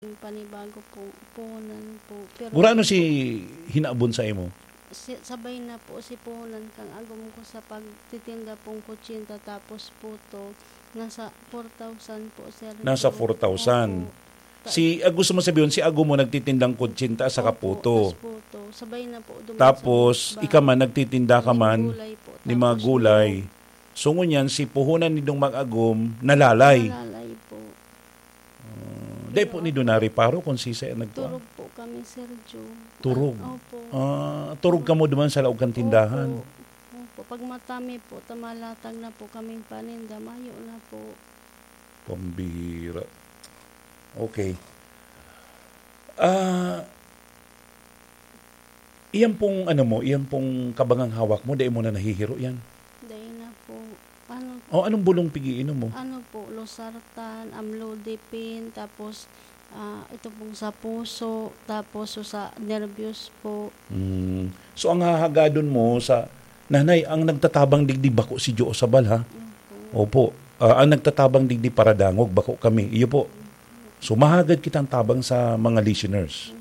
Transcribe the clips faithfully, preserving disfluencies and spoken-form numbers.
Yung panibago po, puhunan po. Pero Gurano si hinabon sa imo? Si, sabay na po si puhunan kang agom ko sa pagtitinda pong kutsinta, tapos puto, nasa four thousand po, sir. Nasa four thousand. Opo. Ta- Si, ah, gusto mo sabihin, si agom mo nagtitindang kutsinta sa Opo, kaputo. Tas puto. Sabay na po duman sa Tapos, iba. Ika man, nagtitinda ka May man gulay po, ni mga tapos gulay. Niyog. So, ngunyan, si puhunan nindong mag-agom, nalalay. Nalalay po. Ah, dai po Pero nindo nareparo kung sisay ang nagkuha? Turog po kami, Sir Joe. Turog? Opo. Ah, turog kamo duman sa laog kan tindahan? Opo. Opo. Pag matami po, tamalatag na po kaming paninda, mayo na po. Pambihira. Okay. Ah, iyan pong ano mo, iyan pong kabangang hawak mo, dai mo na nahihiro yan? Dai na po. Ano O, anong bulong pigiinom mo? Ano po, losartan, amlodipine, tapos, ah, ito pong sa puso, tapos sa nervyos po. Mm. So, ang hahagadon mo sa, Nanay, ang nagtatabang digdi bako si Joe Sabal, ha? Opo. Opo. Ah, ang nagtatabang digdi paradangog, bako kami. Iyo po. So, mahagad kitang tabang sa mga listeners.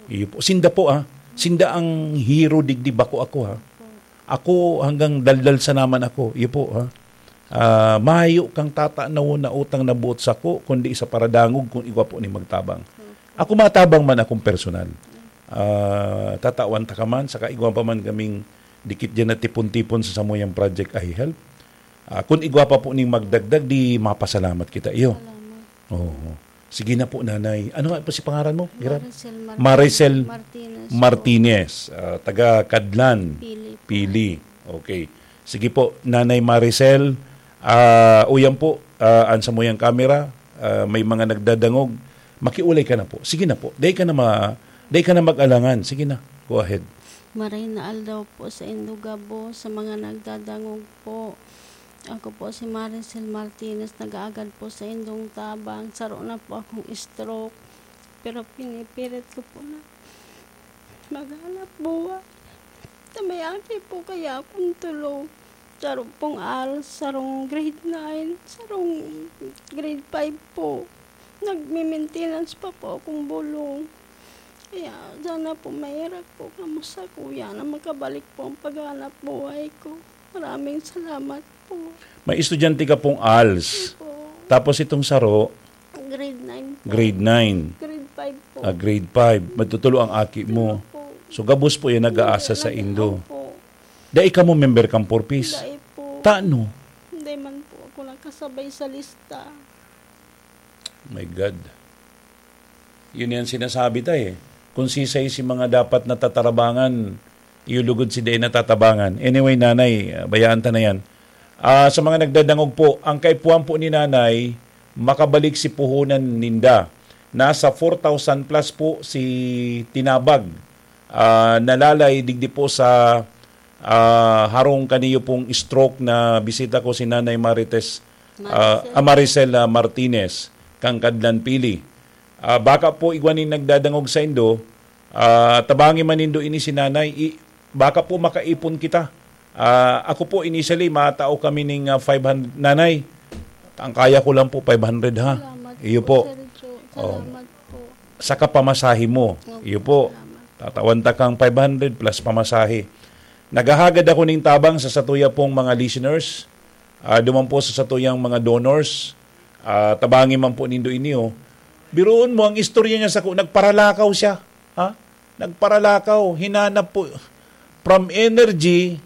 Iyo po. Sinda po, ah. Sinda ang hero digdi, bako ako, ha. Ako, hanggang daldal sa naman ako. Iyo po, ha. Ah, mayo kang tatanawon na utang na buot sako, kundi sa paradangog, kun igwa po ni magtabang. Ako matabang man akong personal. Ah, tatawan ta ka man, saka igwa pa man kaming dikit diyan na tipon-tipon sa samuyang Project I Help. Ah, kun igwa pa po ning magdagdag, di mapasalamat kita iyo. Salamat. Oo. Sige na po, Nanay. Ano nga po si pangaran mo, Gerard? Maricel Martinez. Maricel Martinez po. Martinez, ah, taga Kadlan. Pili po. Pili. Okay. Sige po, Nanay Maricel. Ah, uyan po, ah, an samuyang kamera, ah, may mga nagdadangog. Makiulay ka na po. Sige na po. Dai ka na ma-, dai ka na mag-alangan. Sige na. Go ahead. Maray na aldaw po sa indo gabos, sa mga nagdadangog po. Ako po si Maricel Martinez, nag-aagad po sa indong tabang. Saro na po akong stroke, pero pinipilit ko po na maghanap buhay. Sa may aki po kaya akong tulo. Saro pong ALS, sarong grade nine, sarong grade five po. Nagme-maintenance pa po akong bulong. Kaya sana po mahirap po kamo sa kuya na makabalik po ang paghanap buhay ko. Maraming salamat po. May estudyante ka pong ALS. Opo. Tapos itong saro, Grade nine po. Grade nine. Grade five po. Ah, grade five. Magtutulo ang aki mo. Tulo po. So, gabos po yan nag-aasa sa Hindi, indo. Opo. Dai ka mo member kang Four Ps? Dai po. Tano? Hindi man po ako nakasabay sa lista. My God. Yun yan sinasabi ta eh. Kung sisay si mga dapat natatarabangan, iyo lugod si dai natatabangan. Anyway, Nanay, ah, bayaan ta na yan. Ah, sa mga nagdadangog po, ang kaipuhan po ni Nanay, makabalik si puhunan ninda. Nasa four thousand plus po si tinabag. Ah, nalalay digdi po sa, ah, harong kaniyo pong stroke na bisita ko si Nanay Marites, ah, Maricel. Ah, Maricel, ah, Martinez, kang Kadlan Pili. Ah, baka po igwa nin nagdadangog sa indo, ah, tabangi man nindo ini si Nanay, i-, baka po makaipon kita. Ah, ako po, initially, matao kami ning, ah, five hundred. Nanay, ang kaya ko lang po, five hundred, ha? Salamat Iyo po, po. Sir Joe. Oh. Salamat po. Saka pamasahe mo. Opo, Iyo po. Salamat. Tatawan ta kang five hundred plus pamasahe. Naghahagad ako ning tabang sa satuya pong mga listeners. Ah, duman po sa satuyang mga donors. Ah, tabangi man po nindo ini, oh. Biruon mo, ang istorya niya sako, nagparalakaw siya. Ha? Nagparalakaw, hinanap po. From Energy,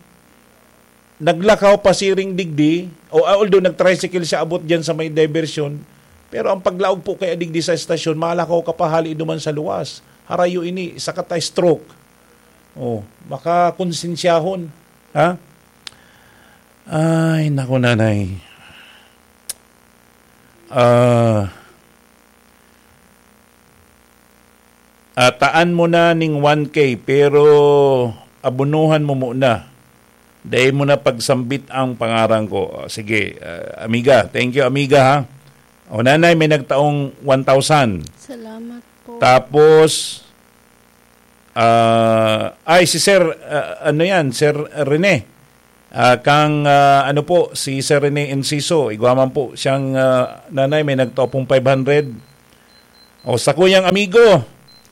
naglakaw pasiring digdi, o, ah, although nag-tricycle siya abot diyan sa may diversion, pero ang paglaog po kaya digdi sa estasyon, malakaw ka pa hali duman sa luwas. Harayo ini, sakata stroke. Oh, makakonsensyahon. Ha? Ay, naku, Nanay. Ah, ah, taan mo na ning one K, pero abonohan mo muna. Dai mo na pagsambit ang pangaran ko. Ah, sige, ah, amiga. Thank you, amiga, ha. O, Nanay, may nagtaong one thousand. Salamat po. Tapos, ah, ay, si Sir, ah, ano yan, Sir Rene. Ah, kang, ah, ano po, si Sir Rene Enciso, igwa man po siyang, ah, Nanay, may nagtao pong five hundred. O, sakuyang amigo,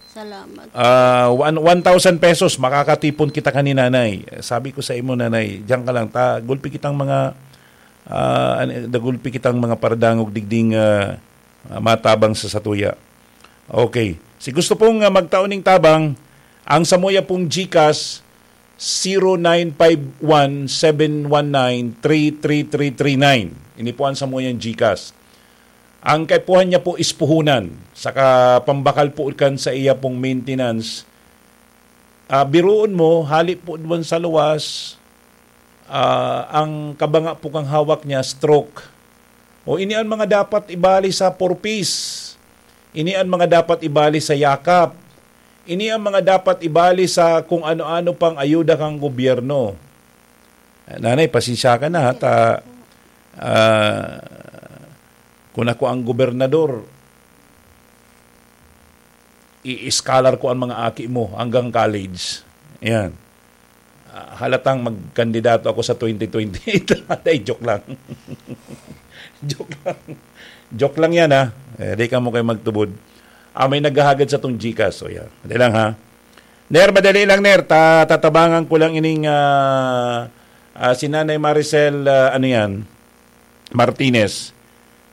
Salamat. ah, one, one thousand pesos, makakatipon kita kan ni nanay. Sabi ko sa imo, nanay, diyan ka lang, ta, gulpi kitang mga, ah, an-, dagulpi kitang mga paradangog digding, ah, ah, matabang sa satuya. Okay. Si gusto pong, ah, magtao ning tabang, ang samuya pong GCash, zero nine five one seven one nine three three three three nine. Ini po ang samuyang GCash. Ang kaipuhan niya po is puhunan, saka pambakal po kan sa iya pong maintenance. Ah, biruon mo, hali po duman sa luwas, ah, ang kabanga po kang hawak niya, stroke. O ini ang mga dapat ibali sa purpose. Ini ang mga dapat ibali sa yakap. Ini ang mga dapat ibali sa kung ano-ano pang ayuda kang gobyerno. Nanay, pasensya ka na, ha, ta, ah, kung ako ang gobernador, i-scholar ko ang mga aki mo hanggang college. Ayan. Ah, halatang magkandidato ako sa twenty twenty-eight. Ay, joke lang. Joke lang. Joke lang yan, ha. Eh, di ka mo kayo magtubod. Ah, may naghahagad sa tong GCash. So, yan. Madali lang, ha. Ner, madali lang, Ner. Ta tatabangan ko lang ining, ah, ah, si Nanay Maricel, ah, ano yan, Martinez.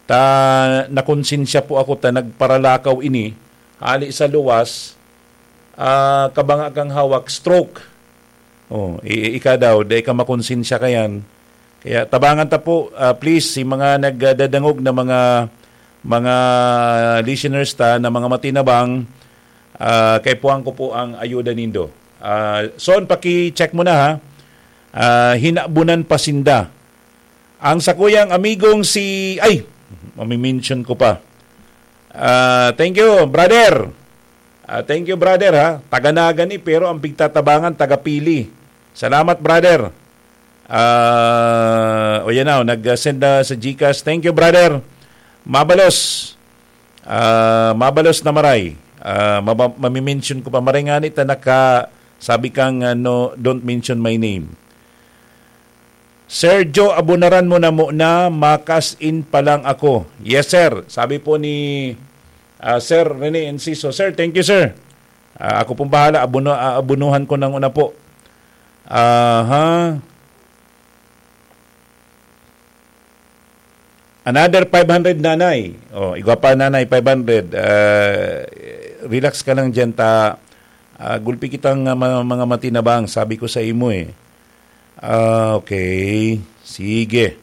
Ta nakonsensya po ako ta nagparalakaw ini, hali sa luwas, ah, kabanga kang hawak, stroke. Oh, i-, ika daw, dai ka makonsensya kayan. Kaya tabangan ta po, ah, please, si mga nagdadangog na mga, mga listeners ta na mga matinabang, ah, kaipuhan ko po ang ayuda nindo. Ah, Son, paki-check mo na, ha. Ah, hinabunan pa sinda. Ang sakuyang amigong si, ay, mamimension ko pa. Ah, thank you, brother. Ah, thank you, brother, ha. Taga Naga ni, pero ang pigtatabangan, taga Pili. Salamat, brother. Ah, o yan na, nag-send na sa GCash. Thank you, brother. Mabalos. Ah, mabalos na maray. Ah, maba- mamimension ko pa. Maray nga ni, ta naka, sabi kang, ah, no, don't mention my name. Sergio, abunaran mo na muna, makas in pa lang ako. Yes, sir. Sabi po ni, ah, Sir Rene Enciso. Sir, thank you, sir. Ah, ako pong bahala. Abuno, ah, abunuhan ko nang una po. Aha. Another five hundred, nanay. Oh, igwa pa, nanay, five hundred. Ah, relax ka lang dyan, ta, ah, gulpi kitang, ah, mga, mga matinabang, sabi ko sa imo eh. Ah, okay. Sige.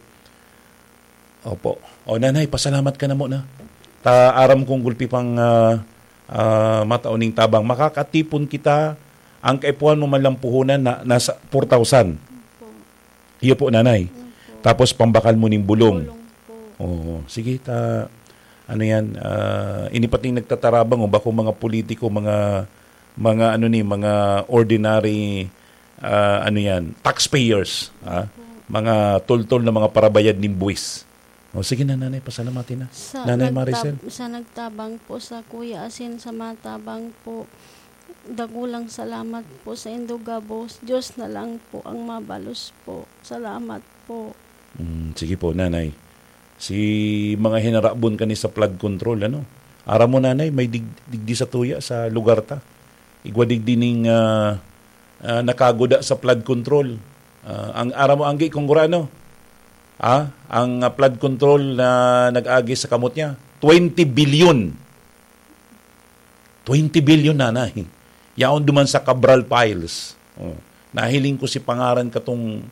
Opo. O, nanay, pasalamat ka na muna. Ta, aram kong gulpi pang, ah, ah, matao ning tabang. Makakatipon kita, ang kaipuhan mo man lang puhunan na nasa four thousand. Iyo po, nanay. Tapos pambakal mo ning bulong. Bulong po. Oo. Sige, ta, ano yan, ah, ini pating nagtatarabang, o bako mga politiko, mga, mga ano ni, mga ordinary, ah, ano yan, taxpayers, ha? Mga toltol na mga parabayad ning buwis. O sige na, nanay, pasalamati na. Sa Nanay nagtab- Maricel. Sa nagtabang po sa Kuya Asin, sa matabang po, dakulang salamat po sa indo gabos. Diyos na lang po ang mabalos po. Salamat po. Mm, sige po, nanay. Si mga hinarabon kani sa flood control, ano? Aram mo, nanay, may dig- digdi sa tuya sa lugar ta. Igwa digdi ning, ah, ah, nakaguda sa flood control. Ah, ang aram mo, anggi kung gurano? Ah, ang, ah, flood control na nag-agi sa kamot niya, twenty billion. Twenty billion, nanay. Yaon duman sa Cabral Files. Oh. Nahiling ko si pangaran katong,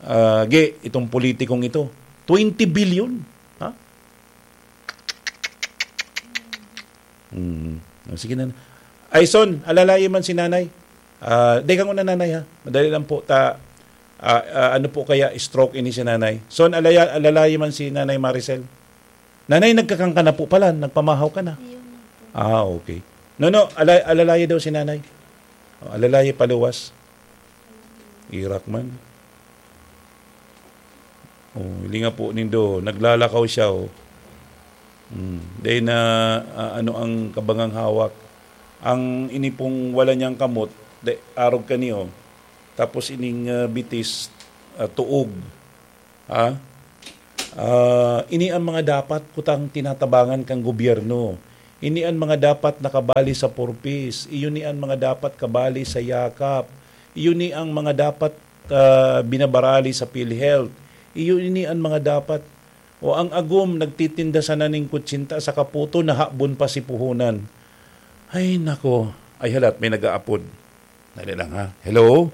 ah, ge, itong politikong ito. Twenty billion. Ha? Hmm. Oh, sige na. Ay, Son, alalaye man si nanay. Ah, di ka muna, nanay, ha? Madali lang po. Ta, ah, ah, ano po kaya stroke ini si nanay? Son, alaya, alalaye man si Nanay Maricel. Nanay, nagkakangka na po pala. Nagpamahaw ka na. Ayun na po. Ah, okay. No, no, ala- alalaye daw si nanay. Oh, alalaye paluwas. Irak man. Oh, hilinga po nindo, naglalakaw siya, oh. Hmm. Dahil na, ah, ano ang kabangang hawak. Ang ini pong wala niyang kamot, de, arog kaniyo. Tapos ining, ah, bitis, ah, tuog. Ha? Ah, ini ang mga dapat kutang tinatabangan kang gobyerno. Ini an mga dapat nakabali sa Four Ps. Iyo ni an mga dapat kabali sa Yakap. Iyo ni ang mga dapat, ah, binabarali sa PhilHealth. Iyo ini an mga dapat. O ang agom, nagtitinda sana ning kutsinta sa kaputo, nahabon pa si puhunan. Ay, nako. Ay, halat, may nag-aapod. Dali lang, ha? Hello?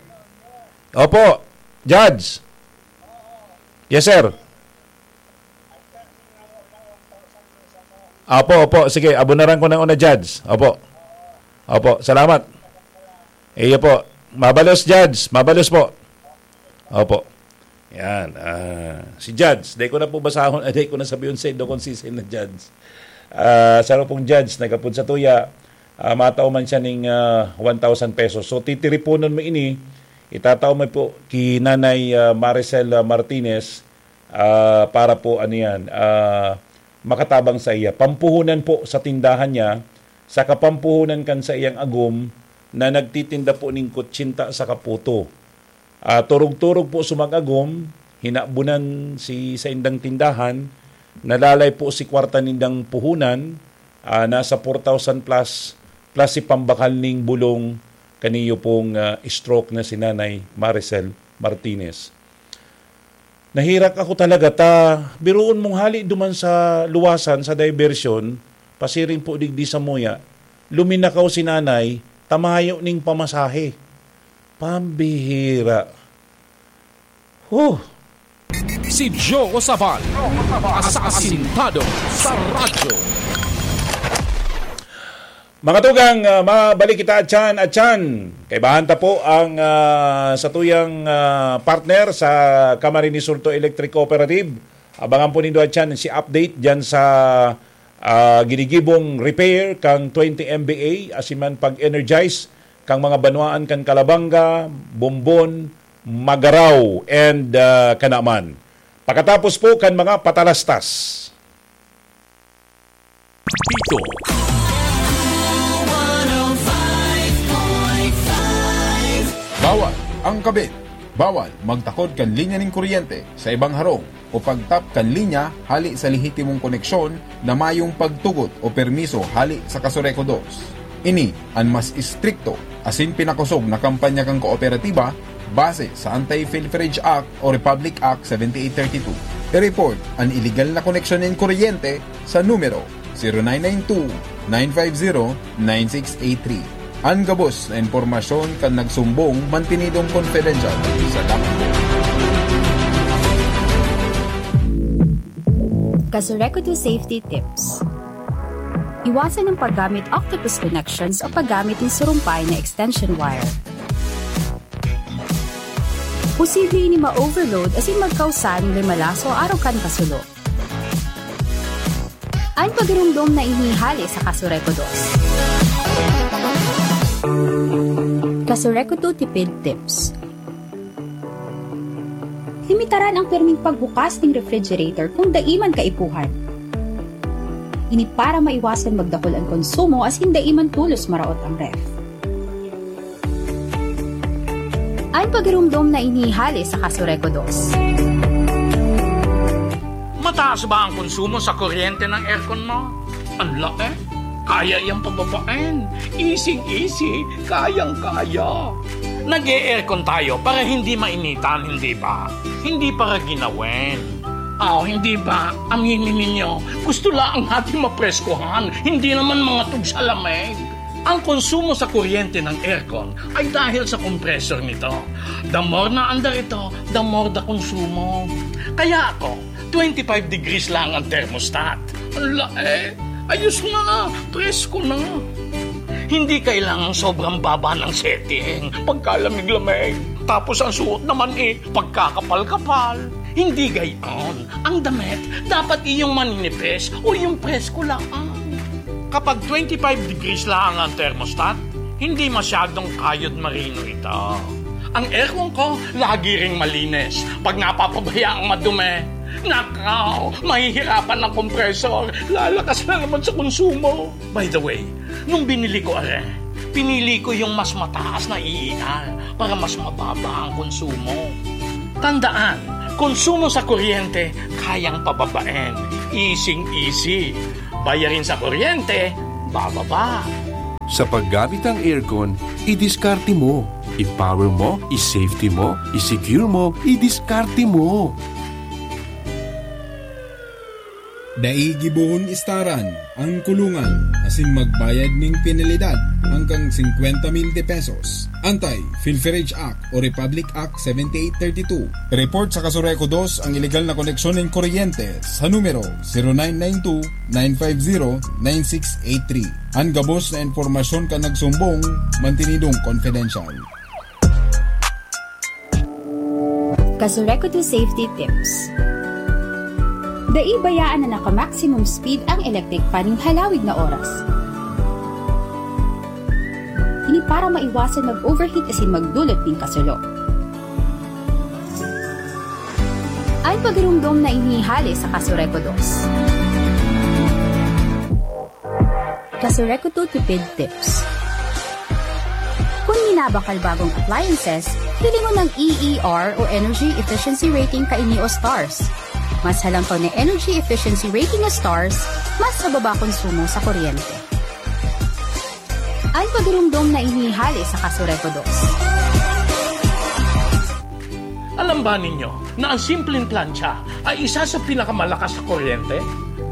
Opo, Judge. Yes, sir. Opo, opo. Sige, abunaran ko na una, Judge. Opo. Opo, salamat. Iyo po. Mabalos, Judge. Mabalos po. Opo. Yan. Ah, si Judge, dai ko na po basahon, dai ko na sabihon sa indo kung siisay na Judge. Ah, saro pong Judge, nagapod sa tuya, ah, matao man siya ning, ah, one thousand pesos. So, titiriponon mo ini, itatao mo po ki Nanay, ah, Maricel, ah, Martinez, ah, para po, ano yan, ah, makatabang sa iya. Pampuhunan po sa tindahan niya, sa kapampuhunan kan sa iyang agom na nagtitinda po ning kutsinta sa kaputo. Ah, turog-turog po sumag-agom, hinabunan si saindang tindahan, nalalay po si kwarta nindang puhunan, ah, nasa four thousand plus, plus si pambakal ning bulong kaniyo pong, ah, stroke na si Nanay Maricel Martinez. Nahirak ako talaga ta, biruon mong hali duman sa luwasan, sa diversion, pasiring po digdi sa muya, luminakaw si Nanay, ta mayo ning pamasahe. Pambihira. Huh! Si Joe Sabal, asasintado sa radyo. Mga tugang, ah, mabalik kita atyan, atyan. Kaibahan ta po ang, ah, satuyang, ah, partner sa Camarines Sur Electric Cooperative. Abangan po nindo atyan si update dyan sa, ah, ginigibong repair kang twenty M V A, asin man pag-energize kang mga banwaan kan Calabanga, Bombon, Magarao, and, ah, Canaman. Pakatapos po kan mga patalastas. Pito. Bawal ang kabit. Bawal magtakod kan linya nin kuryente sa ibang harong o pagtap kan linya hali sa lehitimong koneksyon na mayong pagtugot o permiso hali sa Kasureco dos. Ini an mas istrikto asin pinakosog na kampanya kan kooperatiba base sa Anti-Pilferage Act o Republic Act seventy-eight thirty-two. I-report an iligal na koneksyon nin kuryente sa numero zero nine nine two, nine five zero, nine six eight three. An gabos na impormasyon kan nagsumbong mantinidong confidential. Salamat. Kasureco two Safety Tips. Iwasan ang paggamit octopus connections o paggamit ng surumpay na extension wire. Posible ini ma-overload asin magkausa nin limalaso arog kan kasulo. An pagirumdom na ini hale sa Kasureco dos. Kasureco two Tipid Tips. Limitaran ang pirming pagbukas ning refrigerator kung dai man kaipuhan. Ini para maiwasan magdakul an konsumo asin dai man tolos maraot ang ref. An pagirumdom na ini hale sa Kasureco dos. Mataas ba ang konsumo sa kuryente ng aircon mo? Ang laki. Kaya iyang pababain. Easy-easy. Kayang-kaya. Nag-e-aircon tayo para hindi mainitan, hindi ba? Hindi para ginawin. Aw, hindi ba? Aminin ninyo, gusto lang natin mapreskuhan, hindi naman mga tugsa lamig. Ang konsumo sa kuryente ng aircon ay dahil sa compressor nito. The more na andar ito, the more the konsumo. Kaya ako, twenty-five degrees lang ang thermostat. Ang lae, ayos na, presko na. Hindi kailangang sobrang baba ng setting pagkalamig-lamig. Tapos ang suot naman eh, pagkakapal-kapal. Hindi gayon. Ang damit, dapat iyong maninipis o yung presko lang. Kapag twenty-five degrees lang ang thermostat, hindi masyadong kayod marino ito. Ang aircon ko, lagi ring malinis. Pag napapabayaang madumi, nakaw, mahihirapan ang compressor. Lalakas na naman sa konsumo. By the way, nung binili ko are, pinili ko yung mas mataas na E E R para mas mababa ang konsumo. Tandaan, konsumo sa kuryente, kayang pababain. Easing-easy. Bayarin sa kuryente, bababa. Sa paggamit ng aircon, idiskarte mo. I-power mo, i-safety mo, i-secure mo, idiskarte mo. Dai gibohon istaran ang kulungan asin magbayad ning penalidad hanggang singkwenta mil de pesos. Anti-Pilferage Act o Republic Act seventy-eight thirty-two. Report sa Kasureco dos ang iligal na koneksyon nin kuryente sa numero zero nine nine two, nine five zero, nine six eight three. An gabos na impormasyon kan nagsumbong, mantinidong confidential. Kasureco two Safety Tips. Dai bayaan na naka-maximum speed ang electric fan nin halawig na oras. Ini para maiwasan mag-overheat asin magdulot nin kasulo. An pagirumdom na ini hale sa Kasureco dos. Kasureco two Tipid Tips. Kun minabakal bagong appliances, hilingon ang E E R o Energy Efficiency Rating kaini o stars. Mas halangkaw na energy efficiency rating o stars, mas mababa konsumo sa kuryente. An pagirumdom na ini hale sa Kasureco dos. Alam ba ninyo na ang simpleng plantsa ay isa sa pinakamalakas sa kuryente?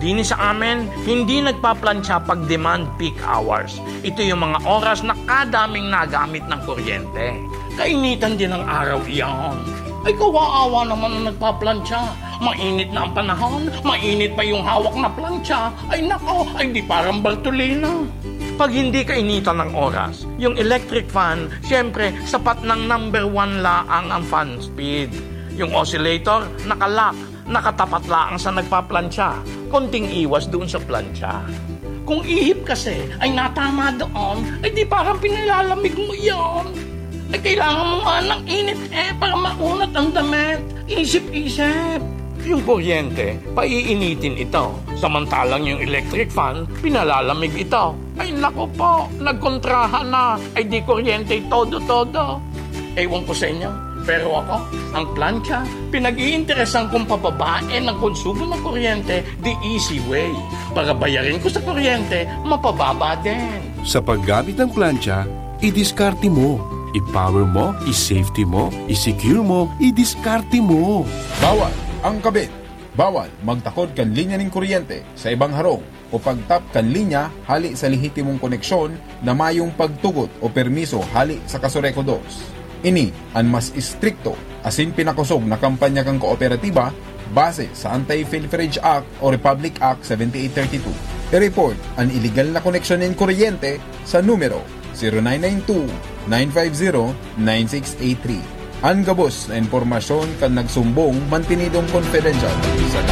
Dini sa amin, hindi nagpaplantsa pag demand peak hours. Ito yung mga oras na kadaming nagamit ng kuryente. Kainitan din ng araw iyan. Ay, kawawa naman ang nagpaplantsa. Mainit na ang panahon, mainit pa yung hawak na plantsa. Ay nako, ay di parang Bartolina. Pag hindi kainitan ng oras, yung electric fan, siyempre, sapat ng number one laang ang fan speed. Yung oscillator, nakalock, nakatapat laang sa nagpaplantsa. Konting iwas doon sa plantsa. Kung ihip kasi ay natama doon, ay di parang pinalamig mo yon. Ay kailangan mo nga ng init eh para maunat ang damit. Isip-isip. Yung kuryente, paiinitin ito. Samantalang yung electric fan, pinalalamig ito. Ay naku po, nagkontrahan na. Ay di kuryente todo-todo. Ewan ko sa inyo, pero ako, ang plantsa, pinag-iinteresan kong pababain ang konsumo ng kuryente the easy way. Para bayarin ko sa kuryente, mapababa din. Sa paggamit ng plantsa, idiskarte mo. I-power mo, i-safety mo, i-secure mo, idiskarte mo. Bawal ang kabit. Bawal magtakod kan linya nin kuryente sa ibang harong o pagtap kan linya hali sa lehitimong koneksyon na mayong pagtugot o permiso hali sa Kasureco dos. Ini an mas istrikto asin pinakosog na kampanya kan kooperatiba base sa Anti-Pilferage Act o Republic Act seventy-eight thirty-two. I-report an iligal na koneksyon nin kuryente sa numero zero nine nine two, nine five zero, nine six eight three. An gabos na impormasyon kan nagsumbong mantinidong confidential. Salamat.